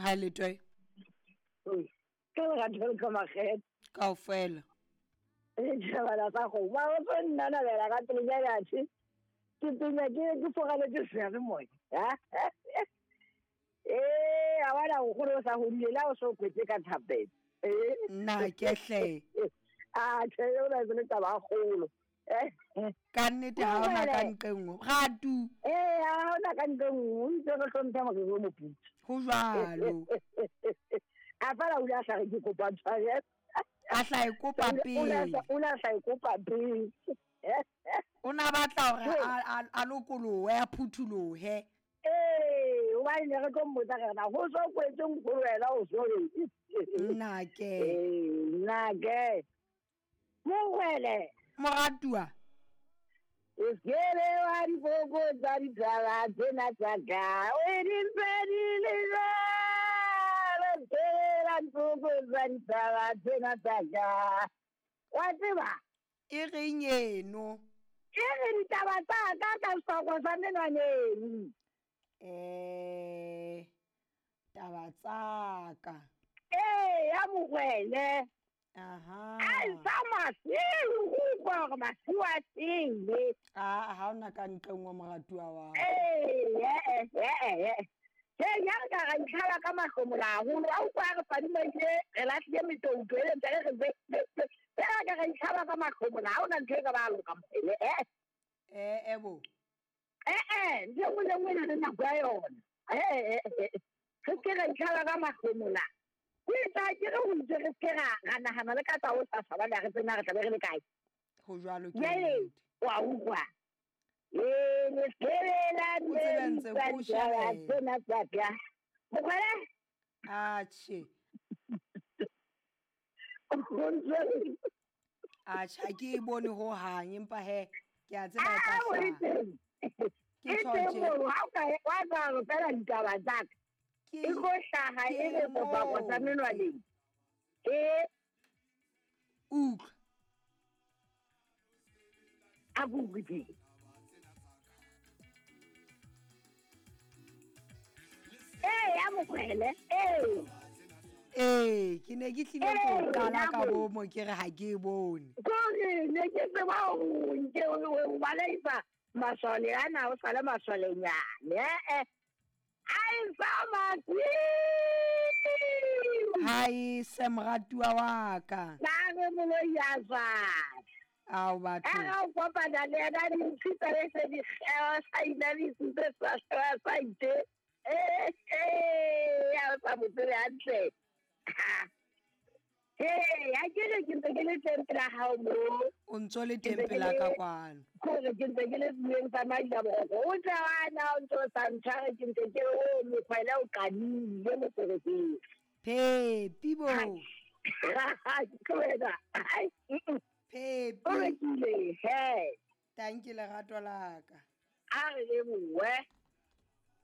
Ha le toe. Ka lerato le ka makgethe. Kaofela. Re tšhabana sa go ba o tlo nna nabela ka pele ja athe. Ke penya ke ke fogaletse seyalemoya. Ee, a bona nkgono o sa hodile la o so kwetse ka thapelo. Ee. Nna ke hle. A tjhe o na le taba e kgolo. Ka nnete ha ona ka nqe nngwe. Ga tu. Ee, ha ona ka nqe nngwe, o itse re hlomphe moriri o moputso. Ho jwalo. A fela o ile a hlare ke kopa tshwarelo. A hla e kopa pele. O ne a hla e kopa pele. O na batla hore a lokolohe, a phuthulohe. Ee, hobane ne re tlo mmotsa re na ho so kwetse nkgolo wena o so reng? Nnake. Ee, nnake. Mongwele. Moratuwa. O sekebe wa dipoko tsa ditaba tsena tsa ka. O di mpe di le jwalo. Sekebe wa dipoko tsa ditaba tsena tsa ka. Wa tseba? E reng eno? E re ditaba tsa ka ka sehlogo sa menwaneng. Taba tsa ka. Ee, ya mogwele. Aha. A sa masiu, go utlwa gore masiu a sele. A ha ona ka ntle nngwe moratuwa wa. Ee, ee, ee, ee. He ya re ka ra itlhala ka mahlomola haholo. A utlwa re fadimaile, re lahlile metouto e ntse re re be, be, be. Fela ka ra itlhala ka mahlomola, ha ona ntho e ka ba loka mogwele. Eh. Eh, eh bo. Eh, eh, ntho e nngwe le nngwe e na le nako ya yona. Eh, eh, eh. Re se ke ra itlhala ka mahlomola. Ho etsa ke re ho itse re se ke ra nahana le ka tsa ho sasa bana re tsena re tla be re le kae. Ho jwalo ke Jwale, nnete. wa utlwa. Ee, le sebela O tsebe ntse tsa ko ditaba shebela. tsena tsa ka. Mogwele? Atjhe. O ntse re- Atjhe, ha ke e bone ho hang, empa he, ke a tseba e tla Ah, o e hlaha. teng. Ke E tjho teng tje. moo, ha o ka e- wa tseba hore fela ditaba tsa ka. Ke E tlo hlaha e ke re kopako tsa moo. menwaneng. E. Utlwa. A ko utlwe teng. Ee, ya mogwele, ee. Ee, ke ne ke tlile go Ee, qala ya ka mo- bomo ke re ha ke e bone. Kore ne ke tseba hore nke o baleisa masole ana o sale masolenyane. Eh, eh. A e sa masiu. Ha e se moratuwa wa ka. Ba re moloi a jwale. Ao batho. A ga o kopana le ena dintshi tsa le se di kgewa sa inamisitse sa kgewa sa ite. Eh, eh, ya o sa mo tsebe hantle. Ha. Hey, ha ke re ke ntse ke le teng pela hao mo. O ntso le Ke teng ntse ke pela le- ka kwano. Kore ke ntse ke le sebueng sa Madilaboroko. O tla wa na o ntso sa ntshware ke ntse ke re o mokgwele o qadile moferefere. Phepi bo. Ke wena. Ai, mm-mm. Phepi. O rekile, he. Tanki lerato la ka. A re lebohe.